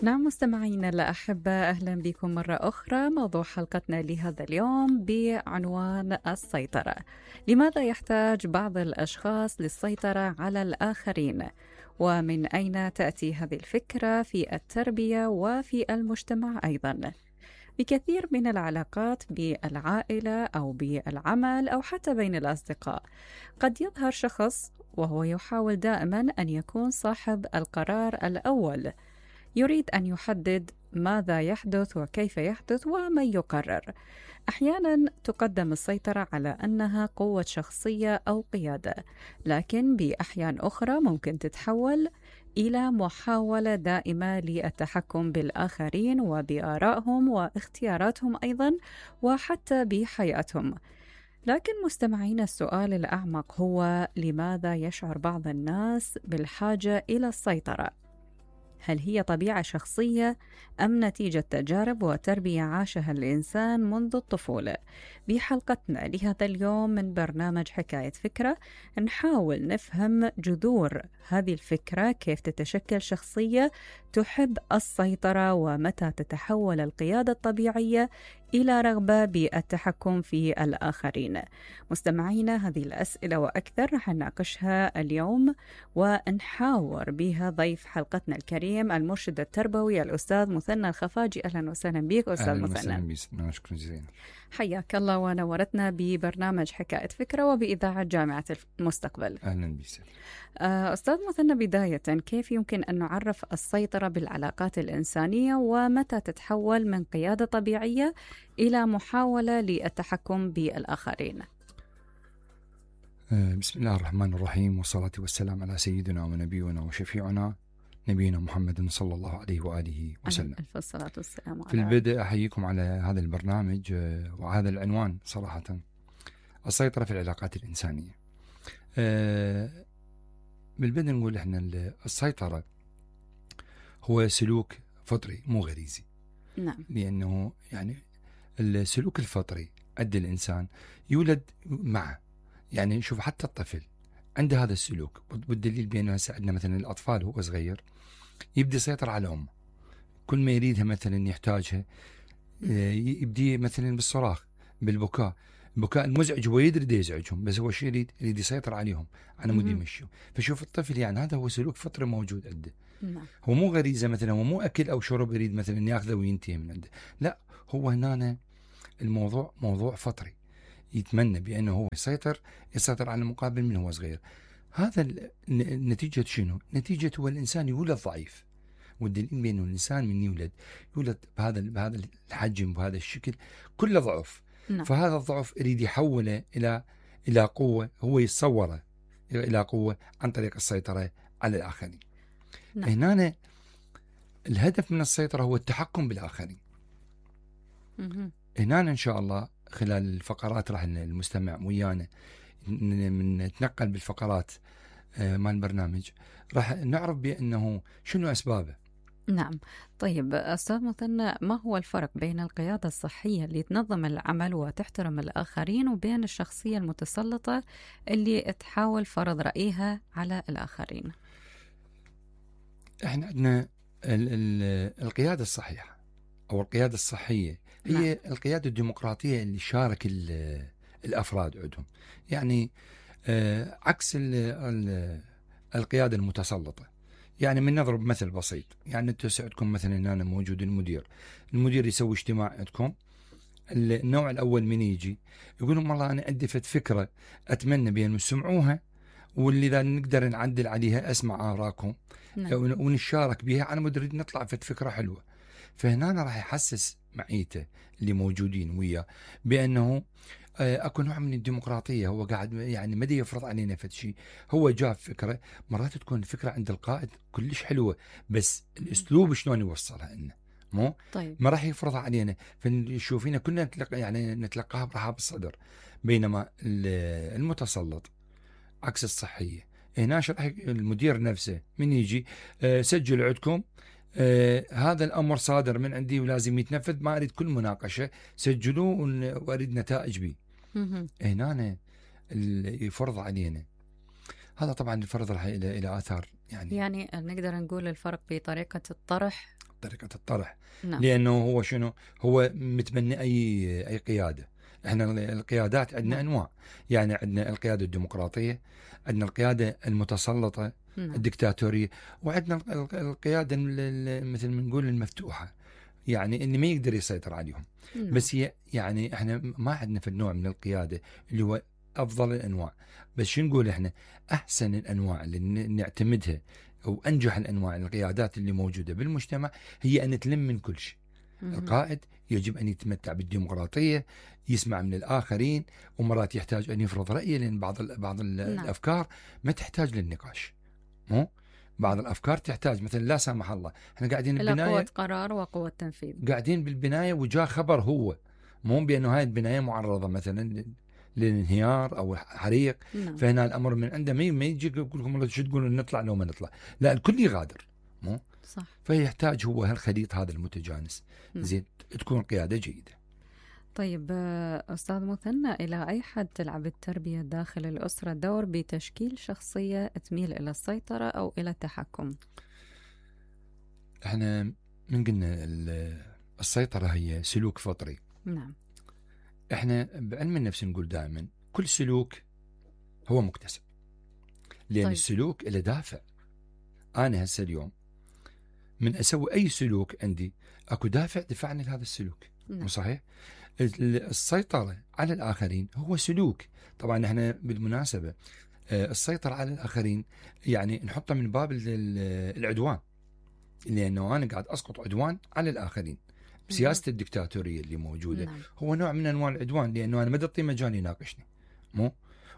نعم مستمعينا الأحبة، أهلا بكم مرة أخرى. موضوع حلقتنا لهذا اليوم بعنوان السيطرة. لماذا يحتاج بعض الأشخاص للسيطرة على الآخرين؟ ومن أين تأتي هذه الفكرة في التربية وفي المجتمع أيضا؟ بكثير من العلاقات بالعائلة أو بالعمل أو حتى بين الأصدقاء قد يظهر شخص وهو يحاول دائما أن يكون صاحب القرار الأول، يريد أن يحدد ماذا يحدث وكيف يحدث ومن يقرر. أحيانا تقدم السيطرة على أنها قوة شخصية أو قيادة، لكن بأحيان أخرى ممكن تتحول إلى محاولة دائمة للتحكم بالآخرين وبآرائهم واختياراتهم أيضا وحتى بحياتهم. لكن مستمعين، السؤال الأعمق هو: لماذا يشعر بعض الناس بالحاجة إلى السيطرة؟ هل هي طبيعة شخصية أم نتيجة تجارب وتربية عاشها الإنسان منذ الطفولة؟ بحلقتنا لهذا اليوم من برنامج حكاية فكرة نحاول نفهم جذور هذه الفكرة، كيف تتشكل شخصية تحب السيطرة، ومتى تتحول القيادة الطبيعية إلى رغبة بالتحكم في الآخرين. مستمعينا، هذه الأسئلة وأكثر رح نناقشها اليوم ونحاور بها ضيف حلقتنا الكريم المرشد التربوي الأستاذ مثنى الخفاجي. أهلا وسهلا بك أستاذ مثنى. أهلا وسهلا، شكرا جزيلا. حياك الله ونورتنا ببرنامج حكاية فكرة وبإذاعة جامعة المستقبل. أهلا بك. أستاذ مثنى، بداية كيف يمكن أن نعرف السيطرة بالعلاقات الإنسانية، ومتى تتحول من قيادة طبيعية إلى محاولة للتحكم بالآخرين؟ بسم الله الرحمن الرحيم، والصلاة والسلام على سيدنا ونبينا وشفيعنا نبينا محمد صلى الله عليه وآله وسلم. ألف الصلاة والسلام على. في البدء أحييكم على هذا البرنامج وهذا العنوان صراحة: السيطرة في العلاقات الإنسانية. بالبدء نقول إحنا السيطرة هو سلوك فطري مو غريزي. نعم. لأنه يعني السلوك الفطري عند الإنسان يولد معه. يعني شوف، حتى الطفل عنده هذا السلوك، والدليل بأنه عندنا مثلا الأطفال هو صغير يبدأ يسيطر على أمه، كل ما يريدها مثلا يحتاجها يبدي مثلا بالصراخ، بالبكاء، البكاء المزعج هو يدري يزعجهم، بس هو شو يريد يسيطر عليهم على مود يمشوا. فشوف الطفل، يعني هذا هو سلوك فطري موجود عنده. هو مو غريزة مثلا، هو مو أكل أو شرب يريد مثلا ياخذه وينتهي من عنده، لا، هو هنا الموضوع موضوع فطري، يتمنى بأنه هو يسيطر على المقابل من هو صغير. هذا نتيجة شنو؟ نتيجة هو الإنسان يولد ضعيف، والدليل بأنه الإنسان من يولد بهذا الحجم بهذا الشكل كله ضعف. فهذا الضعف يريد يحوله إلى قوة، هو يتصوره إلى قوة عن طريق السيطرة على الآخرين. هنا الهدف من السيطرة هو التحكم بالآخرين. هنا إن شاء الله خلال الفقرات راح المستمع ويانا نتنقل بالفقرات مال البرنامج، راح نعرف بأنه شنو أسبابه. نعم. طيب أستاذ مثنى، ما هو الفرق بين القيادة الصحية اللي تنظم العمل وتحترم الآخرين وبين الشخصية المتسلطة اللي تحاول فرض رأيها على الآخرين؟ احنا عندنا القيادة الصحيحة أو القيادة الصحية هي القيادة الديمقراطية اللي شارك الأفراد عندهم. يعني عكس القيادة المتسلطة. يعني من نضرب مثل بسيط، يعني انتم عندكم مثلا أنا موجود المدير يسوي اجتماع عندكم، النوع الأول من يجي يقول لهم والله أنا عندي فكرة أتمنى بأن تسمعوها، واللي إذا نقدر نعدل عليها أسمع آراءكم ونشارك بها، أنا مدري نطلع فكرة حلوة. فهنا راح يحسس معيته اللي موجودين وياه بأنه اكو نوع من الديمقراطيه، هو قاعد يعني ما يفرض علينا فد شيء، هو جاب فكره. مرات تكون الفكره عند القائد كلش حلوه، بس الاسلوب شلون يوصلها لنا مو طيب. ما راح يفرضها علينا، فنشوفينا كلنا نتلقاها برحاب الصدر. بينما المتسلط عكس الصحيه. هنا راح المدير نفسه من يجي سجل عندكم هذا الأمر صادر من عندي ولازم يتنفذ، ما أريد كل مناقشة، سجلوه وأريد نتائج به. هنا يفرض علينا. هذا طبعا الفرض راح إلى آثار. يعني نقدر نقول الفرق بطريقة الطرح طريقة الطرح. نعم. لأنه هو شنو؟ هو متبني أي قيادة. احنا القيادات عندنا نعم. أنواع، يعني عندنا القيادة الديمقراطية، عندنا القيادة المتسلطة، نعم. الدكتاتورية، وعندنا القيادة مثل ما نقول المفتوحة، يعني اللي ما يقدر يسيطر عليهم. نعم. بس هي يعني احنا ما عندنا في النوع من القيادة اللي هو أفضل الأنواع. بس شو نقول احنا؟ أحسن الأنواع اللي نعتمدها أو أنجح الأنواع القيادات اللي موجودة بالمجتمع هي أن تلم من كل شيء. القائد يجب أن يتمتع بالديمقراطية، يسمع من الآخرين، ومرات يحتاج أن يفرض رأيه، لأن بعض الأفكار ما تحتاج للنقاش. مو بعض الأفكار تحتاج، مثلا لا سامح الله احنا قاعدين إلى قوة قرار وقوة تنفيذ، قاعدين بالبناية وجاء خبر هو مو بأنه هاي البناية معرضة مثلا للانهيار أو حريق. نعم. فهنا الأمر من عنده ما يجي يقول لكم شو تقولون نطلع لو ما نطلع، لا الكل يغادر. مو صح. فيحتاج هو هالخليط هذا المتجانس. نعم. زين تكون قيادة جيدة. طيب أستاذ مثنى، إلى أي حد تلعب التربية داخل الأسرة دور بتشكيل شخصية تميل إلى السيطرة أو إلى التحكم؟ احنا من قلنا السيطرة هي سلوك فطري. نعم. احنا بعلم النفس نقول دائما كل سلوك هو مكتسب، لأن طيب. السلوك له دافع. أنا هسه اليوم من أسوي أي سلوك عندي أكو دافع دفعني لهذا السلوك. نعم. مو صحيح؟ السيطرة على الآخرين هو سلوك. طبعا احنا بالمناسبة السيطرة على الآخرين يعني نحطه من باب العدوان، لأنه أنا قاعد أسقط عدوان على الآخرين. سياسة الدكتاتورية اللي موجودة نعم. هو نوع من أنواع العدوان، لأنه أنا ما أعطي مجال يناقشني، مو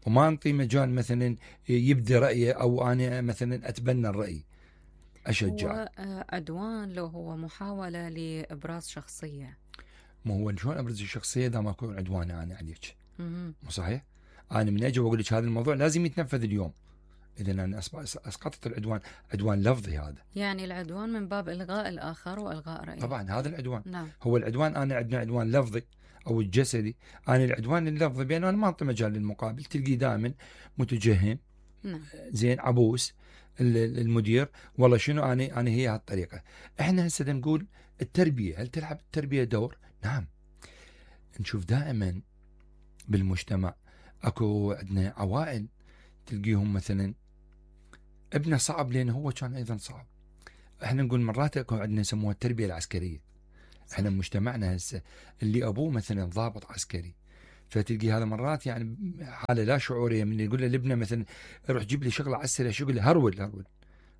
وما أعطي مجال مثلا يبدي رأيه، أو أنا مثلا أتبنى الرأي أشجع. هو عدوان لو هو محاولة لإبراز شخصية. ما هو شلون أبرز الشخصية إذا ما أكون عدوان أنا عليك؟ مم. مو صحيح؟ أنا من أجي وأقول لك هذا الموضوع لازم يتنفذ اليوم، إذا أنا أسقطت العدوان. عدوان لفظي هذا، يعني العدوان من باب إلغاء الآخر وإلغاء رأيه. طبعا هذا العدوان. نعم. هو العدوان أنا عندنا عدوان لفظي أو الجسدي. أنا العدوان اللفظي بأنه أنا ما أعطي مجال للمقابل، تلقي دائما متجهم. نعم. زين عبوس المدير، والله شنو أنا هي هالطريقة. إحنا هسه نقول التربية، هل تلعب التربية دور؟ نعم. نشوف دائما بالمجتمع اكو عندنا عوائل تلقيهم مثلا ابنه صعب لأنه هو كان أيضا صعب. احنا نقول مرات اكو عندنا يسموها التربية العسكرية. احنا مجتمعنا هسه اللي أبوه مثلا ضابط عسكري، فتلقي هذا مرات يعني حالة لا شعورية من يقول له لابنه مثلا روح جيب لي شغلة عسكرية، شو يقول له هرول.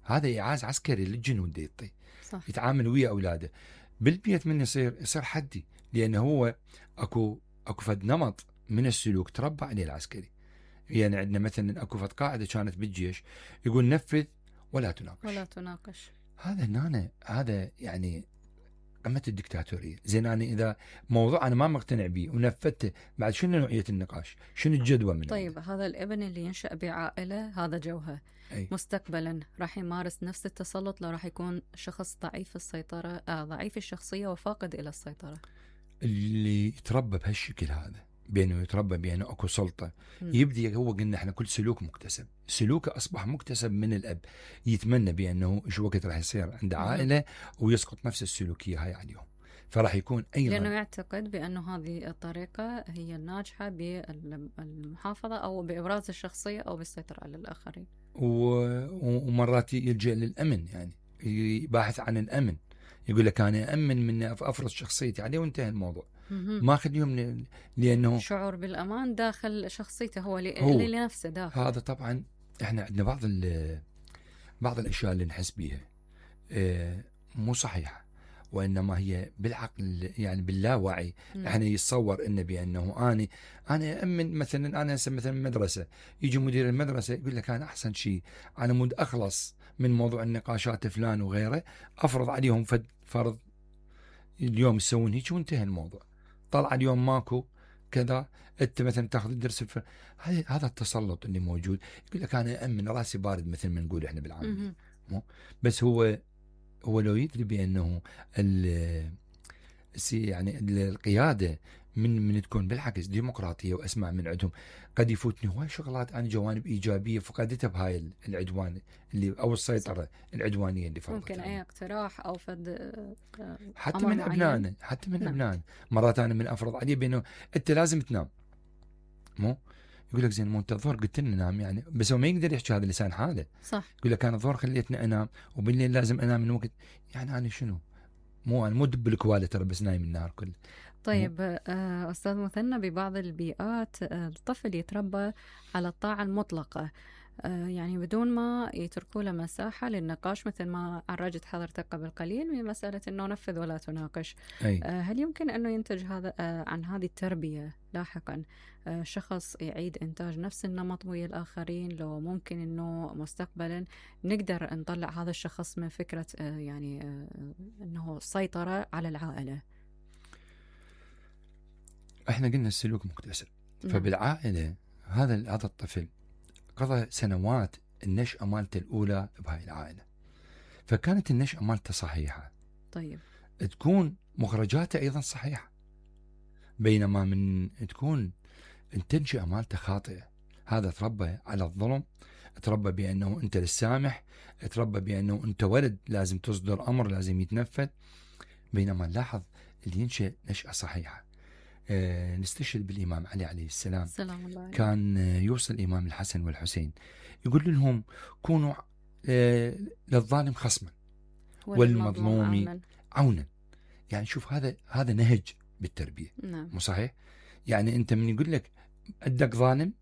هذا إيعاز عسكري للجنود يعطي. صح. يتعامل ويا أولاده بالبيت، من يصير حدي، لأنه هو اكو فد نمط من السلوك تربى عليه العسكري. يعني عندنا مثلا اكو فد قاعدة كانت بالجيش يقول نفذ ولا تناقش. هذا يعني قمة الدكتاتورية. زين أنا إذا موضوع أنا ما مقتنع به ونفذته، بعد شنو نوعية النقاش؟ شنو الجدوى منه؟ طيب هذا الابن اللي ينشأ بعائلة هذا جوهر، مستقبلا راح يمارس نفس التسلط لو راح يكون شخص ضعيف السيطرة، ضعيف الشخصية وفاقد إلى السيطرة. اللي يتربى بهالشكل هذا، بأنه يتربى بأنه أكو سلطة، يبدي هو قلنا احنا كل سلوك مكتسب. سلوكه أصبح مكتسب من الأب، يتمنى بأنه شو وقت راح يصير عنده عائلة ويسقط نفس السلوكية هاي عليهم، فراح يكون أيضا لأنه يعتقد بأنه هذه الطريقة هي الناجحة بالمحافظة أو بإبراز الشخصية أو بالسيطرة على الآخرين. ومرات يلجأ للأمن، يعني يباحث عن الأمن، يقول لك أنا أمن من أفرض شخصيتي عليه وانتهى الموضوع. ما خليهم لأنه شعور بالأمان داخل شخصيته هو لنفسه داخل. هذا طبعا احنا عندنا بعض الأشياء اللي نحس بيها مو صحيحة، وإنما هي بالعقل يعني باللاوعي. احنا يتصور إنه بأنه أنا أمن. مثلا أنا مثلا مدرسة، يجي مدير المدرسة يقول لك أنا أحسن شيء أنا مود أخلص من موضوع النقاشات فلان وغيره، أفرض عليهم فرض اليوم يسوون هيك وانتهى الموضوع. طلع اليوم ماكو كذا، انت مثلا تاخذ الدرس هذا التسلط اللي موجود. يقول لك انا امن راسي بارد مثل ما نقول احنا بالعاميه. بس هو لو يدري بانه يعني القياده من تكون بالعكس ديمقراطيه واسمع من عندهم، قد يفوتني هواي شغلات انا جوانب ايجابيه فقدتها بهاي العدوان اللي او السيطره العدوانيه اللي فرضتها. ممكن اي اقتراح او فد حتى من ابنائنا، حتى من ابنائنا مرات انا من افرض عليه بانه انت لازم تنام، مو يقول لك زين مو انت الظهر قلت لنا نام يعني، بس هو ما يقدر يحكي هذا لسان حاله. صح. يقول لك انا الظهر خليتني انام وبالليل لازم انام من وقت، يعني انا شنو؟ مو انا مو دب الكواله ترى بس نايم النهار كله. طيب أستاذ مثنى، ببعض البيئات الطفل يتربى على الطاعة المطلقة، يعني بدون ما يتركوا له مساحة للنقاش، مثل ما عرجت حضرتك قبل قليل من مسألة أنه نفذ ولا تناقش. هل يمكن أنه ينتج هذا عن هذه التربية لاحقا شخص يعيد إنتاج نفس النمط ويا الآخرين؟ لو ممكن أنه مستقبلا نقدر نطلع هذا الشخص من فكرة يعني أنه سيطرة على العائلة؟ احنا قلنا السلوك مكتسب. فبالعائلة هذا الطفل قضى سنوات النشأة مالته الأولى بهاي العائلة، فكانت النشأة مالته صحيحة. طيب تكون مخرجاته أيضا صحيحة، بينما من تكون التنشئة مالته خاطئة، هذا تربى على الظلم، تربى بأنه أنت للسامح، تربى بأنه أنت ولد لازم تصدر أمر لازم يتنفذ. بينما نلاحظ اللي ينشأ نشأة صحيحة. نستشهد بالإمام علي عليه السلام، كان يوصل الإمام الحسن والحسين يقول لهم كونوا للظالم خصما والمظلوم عونا. يعني شوف هذا نهج بالتربية. مو صحيح؟ يعني أنت من يقول لك عندك ظالم،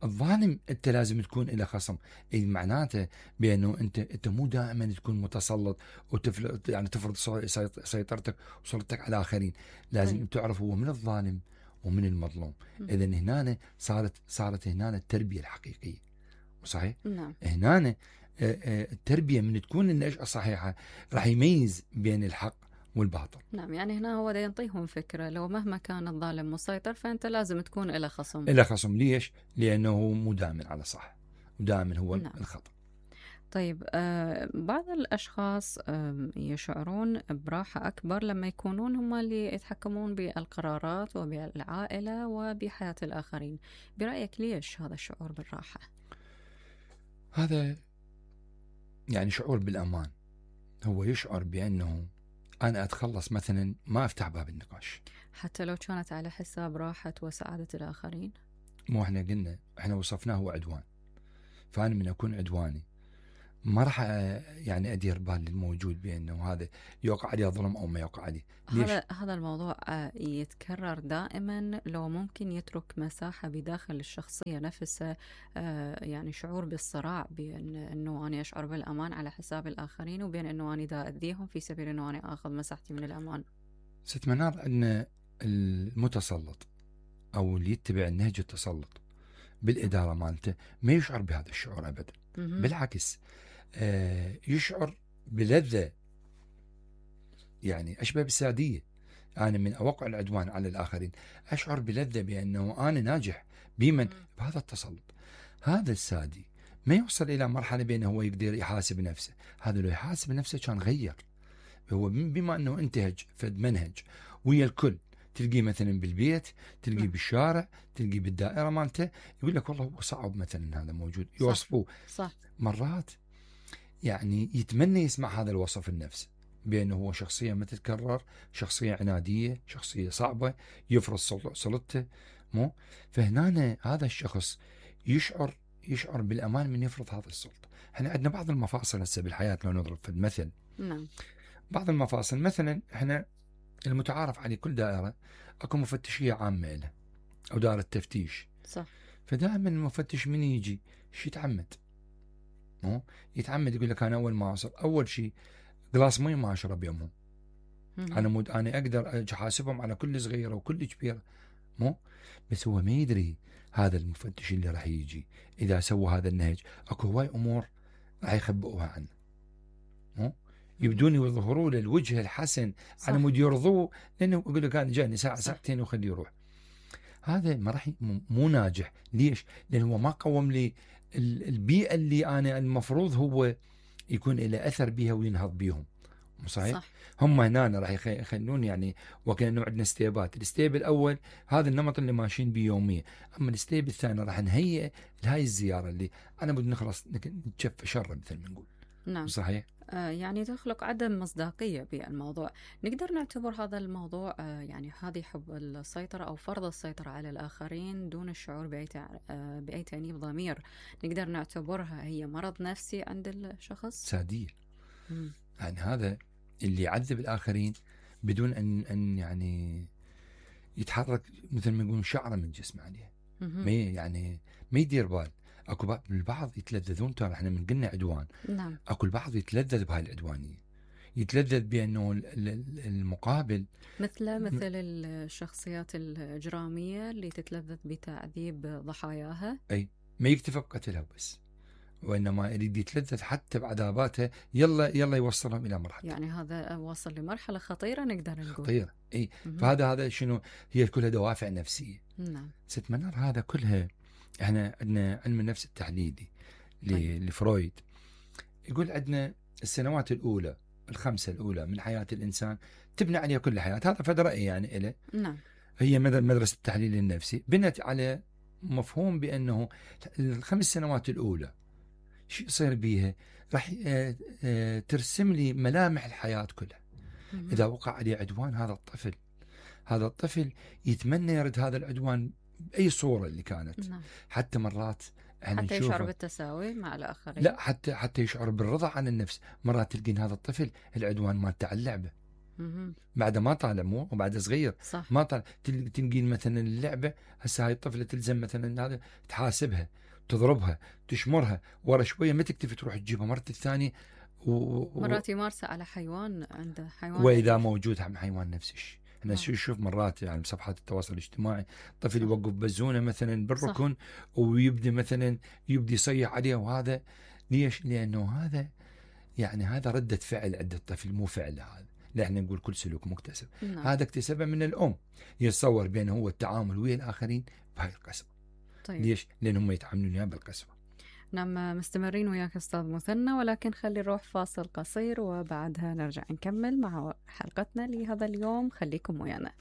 الظالم أنت لازم تكون إلى خصم، أي معناته بأنه أنت مو دائما تكون متسلط يعني تفرض سيطرتك وسلطتك على آخرين، لازم تعرف هو من الظالم ومن المظلوم. إذا هنا صارت هنا التربية الحقيقية. صحيح؟ نعم. هنا التربية من تكون النشأة صحيحة راح يميز بين الحق والباطل. نعم، يعني هنا هو دا ينطيهم فكرة لو مهما كان الظالم مسيطر فأنت لازم تكون إلى خصم. ليش؟ لأنه مو دائما على صح ودائما هو الخطأ. طيب بعض الأشخاص يشعرون براحة أكبر لما يكونون هم اللي يتحكمون بالقرارات وبالعائلة وبحياة الآخرين. برأيك ليش هذا الشعور بالراحة؟ هذا يعني شعور بالأمان. هو يشعر بأنه أنا أتخلص مثلا ما أفتح باب النقاش حتى لو كانت على حساب راحة وسعادة الآخرين. مو احنا وصفناه هو عدوان، فأنا من أكون عدواني ما راح يعني أدير بال الموجود بأنه هذا يوقع عليه ظلم أو ما يوقع عليه. هذا الموضوع يتكرر دائما. لو ممكن يترك مساحة بداخل الشخصية نفسها، يعني شعور بالصراع بين أنه أنا أشعر بالأمان على حساب الآخرين وبين أنه أنا دا أذيهم في سبيل أنه أنا أخذ مساحتي من الأمان. ست منار، أن المتسلط أو اللي يتبع النهج التسلط بالإدارة مالته ما يشعر بهذا الشعور أبدا. بالعكس يشعر بلذة، يعني أشبه بالسادية. أنا من أوقع العدوان على الآخرين أشعر بلذة بأنه أنا ناجح بمن بهذا التسلط. هذا السادي ما يوصل إلى مرحلة بأنه هو يقدر يحاسب نفسه. هذا لو يحاسب نفسه كان غير. هو بما أنه انتهج فد منهج ويا الكل، تلقيه مثلا بالبيت، تلقيه بالشارع، تلقيه بالدائرة مالته، يقول لك والله هو صعب مثلا هذا موجود، يوصفوه. صح. مرات يعني يتمنى يسمع هذا الوصف النفس بأنه هو شخصية ما تتكرر، شخصية عنادية، شخصية صعبة، يفرض سلطته. مو فهنا هذا الشخص يشعر بالأمان من يفرض هذا السلطة. احنا عندنا بعض المفاصل هسه بالحياة، لو نضرب في المثل. نعم. بعض المفاصل مثلا احنا المتعارف عليه كل دائرة اكو مفتشية عامة له او دائرة تفتيش. صح. فدائما المفتش من يجي يتعمد يقول لك انا اول ما اوصل اول شيء قلاص مي ما اشرب يومهم. انا اقدر احاسبهم على كل صغيره وكل كبيره. بس هو ما يدري هذا المفتش اللي راح يجي اذا سوى هذا النهج اكو هواي امور راح يخبئوها عنه. يبدون يظهروا له الوجه الحسن على مود يرضوه، لانه يقول لك انا جاني ساعه ساعتين وخليه يروح. هذا ما راح مو ناجح. ليش؟ لانه هو ما قوم لي البيئة اللي أنا المفروض هو يكون له أثر بها وينهض بيهم. صحيح؟ صح. هم هنا راح يخلون يعني وكأنه عندنا ستيبات، الستيب الأول هذا النمط اللي ماشيين بيه يوميا، أما الستيب الثاني راح نهيئ لهاي الزيارة اللي أنا بدي نخلص نتشفى شر مثل ما نقول. نعم. صحيح؟ يعني تخلق عدم مصداقية بالموضوع. نقدر نعتبر هذا الموضوع يعني هذه حب السيطرة أو فرض السيطرة على الآخرين دون الشعور بأي تأنيب ضمير، نقدر نعتبرها هي مرض نفسي عند الشخص؟ سادية. يعني هذا اللي يعذب الآخرين بدون أن يعني يتحرك مثل ما يقولون شعره من جسمه عليه. ما يدير بال. اكو البعض يتلذذون، ترى احنا من قلنا عدوان. نعم. اكو البعض يتلذذ بهاي العدوانيه، يتلذذ بانه المقابل مثل الشخصيات الإجرامية اللي تتلذذ بتعذيب ضحاياها. اي ما يكتفى بقتلها بس، وانما يريد يتلذذ حتى بعذاباتها، يلا يوصلهم الى مرحله. يعني هذا وصل لمرحله خطيره نقدر نقول. خطيره. اي فهذا شنو هي كلها دوافع نفسيه. نعم. ست منار هذا كلها احنا عندنا علم النفس التحليلي لفرويد يقول عندنا السنوات الأولى ال5 الأولى من حياة الإنسان تبنى عليها كل الحياة. هذا فد رأي يعني إله. نعم. هي مدرسة التحليل النفسي بنت على مفهوم بأنه ال5 سنوات الأولى شو يصير بيها راح ترسم لي ملامح الحياة كلها. إذا وقع عليه عدوان هذا الطفل يتمنى يرد هذا العدوان بأي صورة اللي كانت. نعم. حتى مرات حتى يشعر بالتساوي مع الآخرين. لا حتى يشعر بالرضا عن النفس. مرات تلقين هذا الطفل العدوان ما تاع اللعبة بعد ما طالع مو وبعد صغير. صح. ما طالع تلقين مثلا اللعبة هسه هاي الطفلة تلزم مثلا هذا تحاسبها تضربها تشمرها ورا شوية ما تكتفي تروح تجيبها مرة الثانية مرات يمارسها على حيوان عنده حيوان وإذا موجود هم حيوان نفس الشيء. احنا نشوف مرات يعني بصفحات التواصل الاجتماعي طفل يوقف بزونه مثلا بالركن ويبدي مثلا يصيح عليه. وهذا ليش؟ لانه هذا ردة فعل عند الطفل مو فعل. هذا لا احنا نقول كل سلوك مكتسب. هذا اكتسبه من الام. يتصور بانه هو التعامل ويا الاخرين بهاي القسوة. طيب. ليش؟ لانهم يتعاملون بالقسوة. نعم. مستمرين وياك أستاذ مثنى، ولكن خلي نروح فاصل قصير وبعدها نرجع نكمل مع حلقتنا لهذا اليوم. خليكم ويانا.